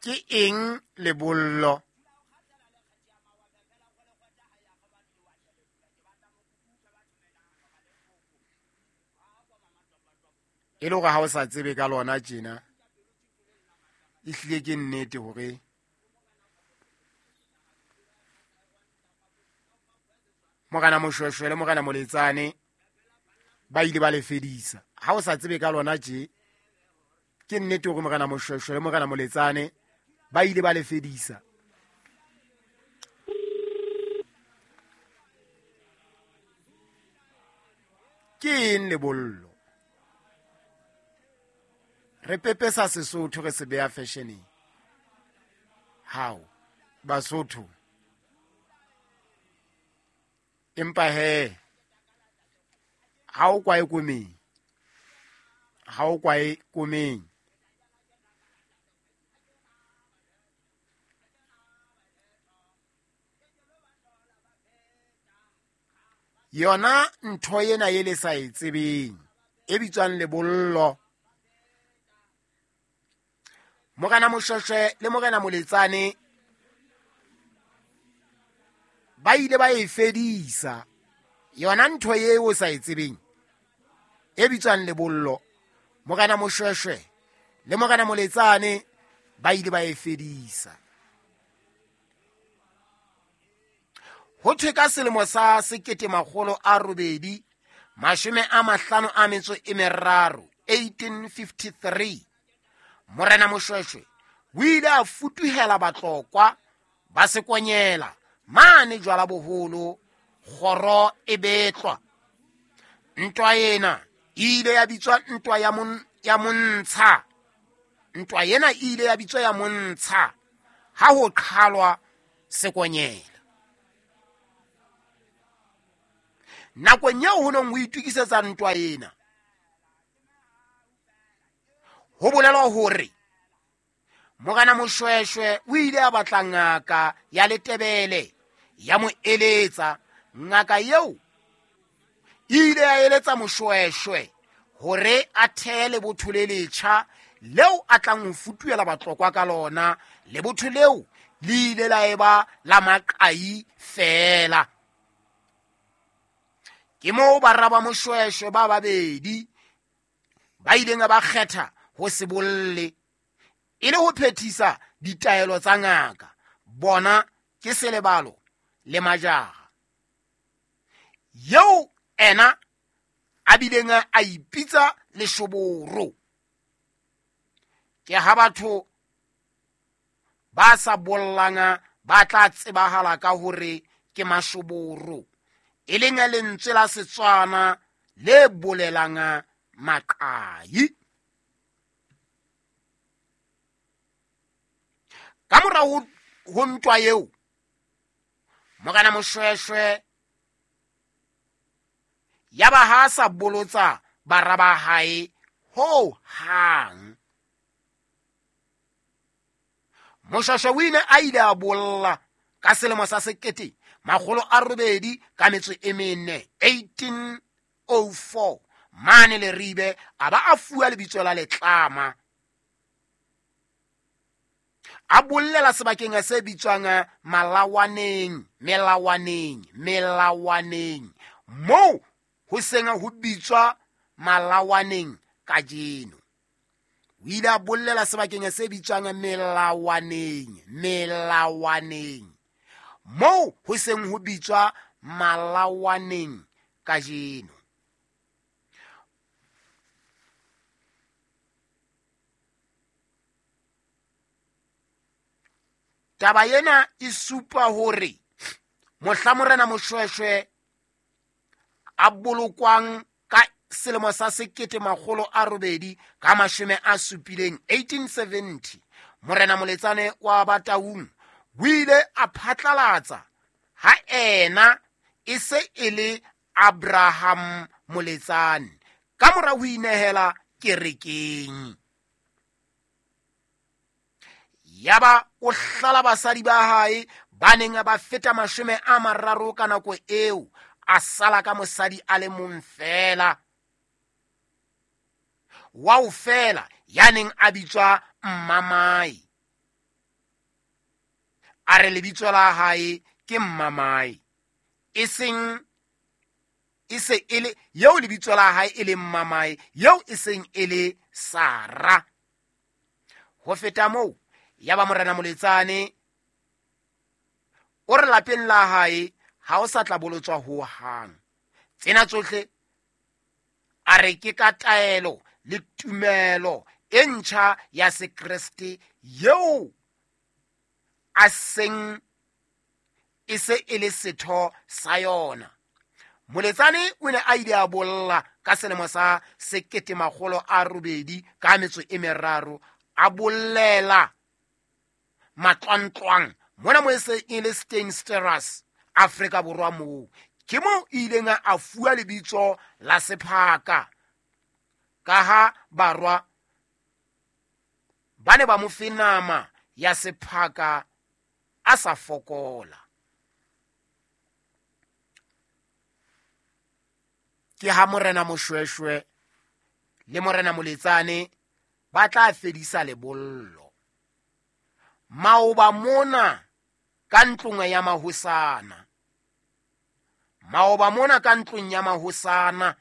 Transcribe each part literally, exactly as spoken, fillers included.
Ke eng lebollo? E le hore ha o sa tsebe ka lona tjena, ehlile ke nnete hore Morena Moshoeshoe le Morena Moletsane ba ile ba le fedisa. Ha o sa tsebe ka lona tje, ke nnete hore Morena Moshoeshoe le Morena Moletsane ba ile ba le fedisa. Ke eng lebollo? Re pepesa Sesotho re se beha fashioneng. Hao, Basotho. Empa he, ha o kwae komeng. Ha o kwae komeng. Yona ntho ena e le sa e tsebeng, e bitswang lebollo. Morena Moshoeshoe le Morena Moletsane ba ile ba e fedisa. Yona ntho eo o sa e tsebeng, e bitswang lebollo, Morena Moshoeshoe le Morena Moletsane ba ile ba e fedisa. Ho thwe ka selemo sa sekete makgolo a robedi, mashome a mahlano a metso e meraro, eighteen fifty-three, Morena Moshoeshoe o ile a futuhela Batlokwa ba Sekonyela mane jwala boholo, kgoro e betlwa. Ntwa ena e ile ya bitswa ntwa ya mon-, ya Montsha. Ntwa ena e ile ya bitswa ya Montsha ha ho qhalwa Sekonyela. Nakong eo ho neng ho itokisetsa ntwa ena, ho bolelwa hore Morena Moshoeshoe o ile a batla ngaka ya Letebele ya mo eletsa. Ngaka eo e ile ya eletsa Moshoeshoe hore a thehe lebotho le letjha leo a tlang ho futuhela Batlokwa ka lona. Lebotho leo le ile la eba la maqai feela. Ke moo bara ba Moshoeshoe ba babedi ba ileng ba kgetha ho se bolle e le ho phethisa ditaelo tsa ngaka. Bona ke Selebalo le Majara, eo ena a bileng a ipitsa leshoboro. Ke ha batho ba sa bollang ba tla tsebahala ka hore ke mashoboro, e leng lentswe la Setswana le bolelang maqai. Ka mora ho, ho ntwa eo, Morena Moshoeshoe ya ba ha sa bolotsa bara ba hae ho hang. Moshoeshoe o ile a ile a bolla ka selemo sa sekete makgolo a robedi ka metso e mene, eighteen oh four, mane Leribe, a ba a fuwa lebitso la Letlama. A bollela sebakeng se bitswang Malawaneng, Melawaneng, Melawaneng, moo ho seng ho bitswa Malawaneng kajeno. O ile a bollela sebakeng se bitswang Melawaneng, Melawaneng, moo ho seng ho bitswa Malawaneng kajeno. Taba ena e supa hore mohla Morena Moshoeshoe a bolokwang ka selemo sa sekete makgolo a robedi ka mashome a supileng, eighteen seventy, Morena Moletsane wa Bataung o ile a phatlalatsa ha ena e se e le Abraham Moletsane ka mora ho inehela kerekeng. Yaba o hlala basadi ba hae ba neng ba feta mashome a mararo ka nako eo, a sala ka mosadi a le mong feela, wa o feela ya neng a bitswa Mmamae. A re lebitso la hae ke Mmamae, e seng e se e le yeo lebitso la hae e leng Mmamae, yeo e seng e le Sara. Ho feta moo, yaba morena Moletsane o re lapeng la hae ha o sa tla bolotswa ho hang. Tsena tsohle a re ke ka taelo le tumelo e ntjha ya Sekreste yeo a seng e se e le setho sa yona. Moletsane o ne a ile a bolla ka selemo sa sekete makgolo a robedi ka metso e meraro, a bollela matlwantlwang mona mo e se e le Steinsterus Afrika Borwa moo. Ke moo ileng a fuwa lebitso la Sephaka, ka ha barwa ba ne ba mo fe nama ya sephaka a sa fokola. Ke ha morena Moshweshwe le morena Moletsane ba tla fedisa lebollo. Maoba mona ka ntlong ya mahosana, maoba mona ka ntlong ya mahosana,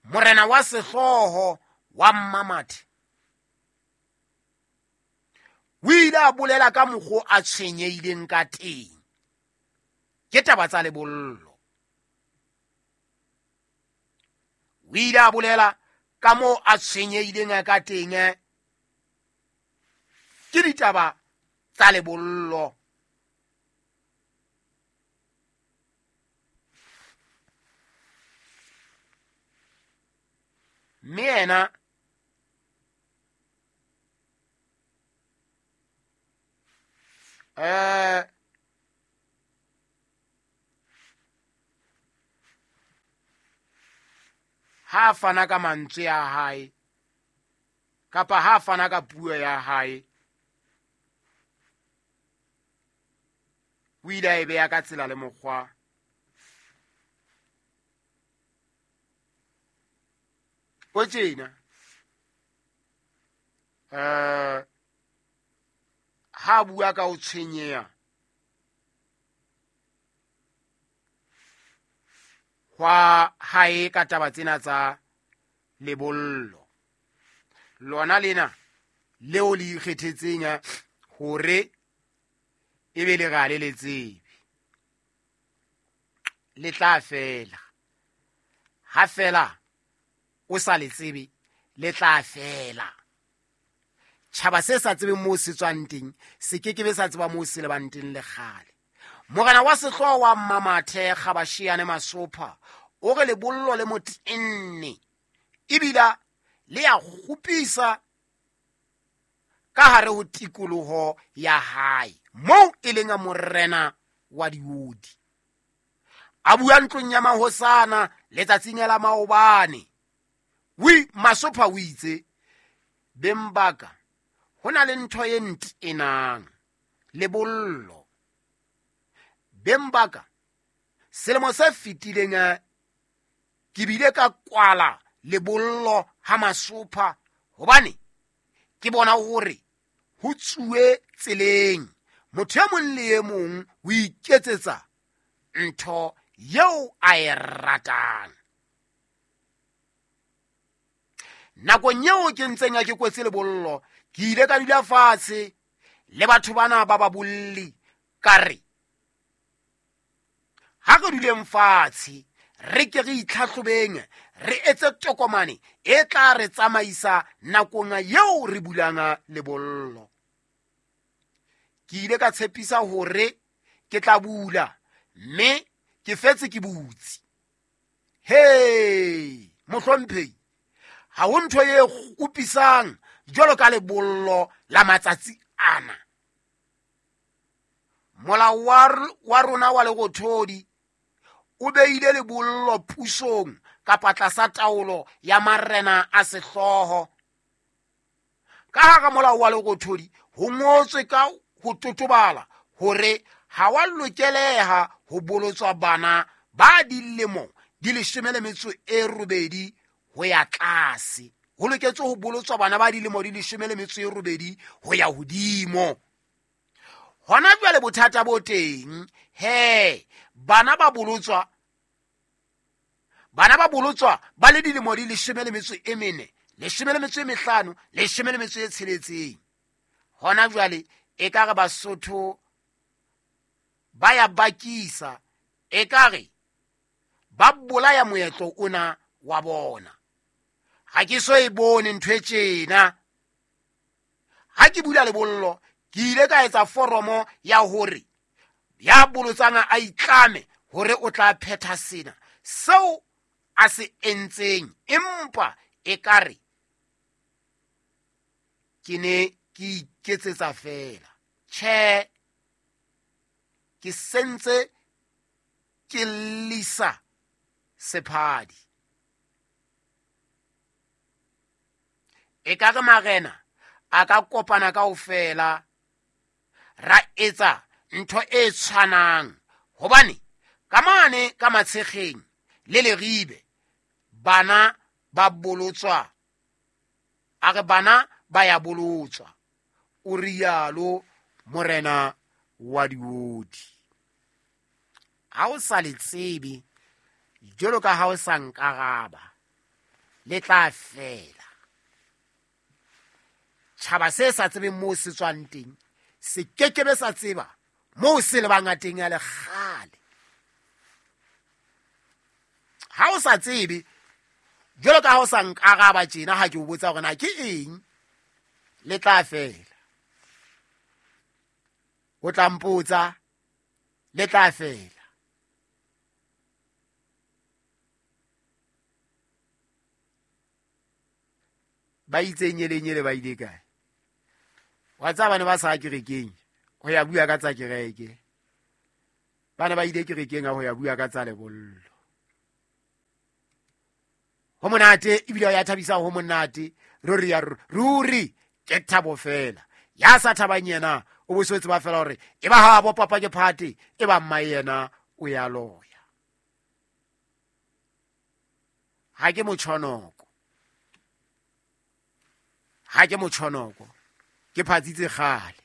morena wa sehlooho wa Mmamathe o ile a bolela ka mokgo a tshwenyehileng ka teng ke taba tsa lebollo. O ile a bolela ka moo a tshwenyehileng ka teng ke ditaba tsa lebollo. Mme yena eh ha fana ka mantswe a hae kapa ha fana ka puo ya hae, o ile a e beha ka tsela le mokgwa o tjena. Eh ha bua ka o tshwenyeha hwa hae ka taba tsena tsa lebollo, lona lena leo le ikgethetseng hore e be le ga le le tsebe, le tla fela. Ha fela o sa le tsebe, le tla fela. Tjhaba se sa tsebeng moo se tswang teng se ke ke be sa tseba moo se lebang teng le kgale. Morena wa sehlooho wa Mmamathe Kgabashiane Masopha o re lebollo le motenne ebila le ya kgopisa ka hare ho tikoloho ya hae moo e leng morena wa diodi. A bua ntlong ya mahosana letsatsing la maobane. Wi Masopha o itse, beng ba ka, ho na le ntho e ntenang, lebollo. Beng ba ka, selemo se fetileng ke bile ka kwala lebollo ha Masopha hobane ke bona hore ho tsuwe tseleng. Motho e mong le e mong o iketsetsa ntho eo a e ratang. Nakong eo ke ntseng ke kwetse lebollo, ke ile ka dula fatshe le batho bana ba ba bolli, ka re ha re duleng fatshe re ke re itlhahlobeng, re etse tokomane e tla re tsamaisa nakong eo re bulang lebollo. Ke ile ka tshepisa hore ke tla bula, mme ke fetse ke butse. Hey, mohlomphehi, ha ho ntho e kgopisang jwalo ka lebollo la matsatsi ana. Molao wa rona wa lerothodi o beile lebollo pusong kapa tlasa taolo ya marena a sehlooho. Ka hara molao wa lerothodi ho ngotswe ka ho totobala hore ha wa lokeleha ho bolotswa bana ba dilemo di leshome le metso e robedi ho ya tlase. ho loketse ho bolotswa bana ba dilemo di leshome le metso e robedi ho ya hodimo. Hona jwale bothata bo teng he, bana ba bolotswa bana ba bolotswa ba le dilemo di leshome le metso e mene, leshome le metso e mehlano, leshome le metso e tsheletseng. Hona jwale e ka re Basotho ba ya bakisa, e ka re ba bolaya moetlo ona wa bona. Ha ke so e bone ntho e tjena. Ha ke bula lebollo, ke ile ka etsa foromo ya hore ya bolotsang a itlame hore o tla phetha sena seo a se entseng, empa e ka re ke ne ke iketsetsa fela. Tjhe, ke sentse ke lisa sephadi. E ka re marena a ka kopana kaofela ra etsa ntho e tshwanang, hobane ka mane ka Matshekgeng le Leribe bana ba bolotswa, a re bana ba ya bolotswa, o rialo morena wa Diodi. Ha o sa le tsebe jwalo ka ha o sa nkaraba, le tla fela. Tjhaba se sa tsebeng moo se tswang teng se kekebe sa tseba moo se lebang teng ya lekgale. Ha o sa tsebe jwalo ka ha o sa nkaraba tjena, ha ke o botsa hore na ke eng, le tla fela. O tla mpotsa, le tla fela. Ba itse nyele nyele ba ile kae? Wa tseba bana ba sa kerekeng ho ya bua ka tsa kereke. Bana ba ile kerekeng ha ho ya bua ka tsa lebollo. Ho monate ebile ya thabisa, ho monate ruri ya ruri ke thabo fela. Ya sa thabang yena o bo se tseba fela hore e ba ha bo papa ke phate, e ba mma yena o ya loya. Ha ke motjhonoko, ha ke motjhonoko, ke phatsitse kgale.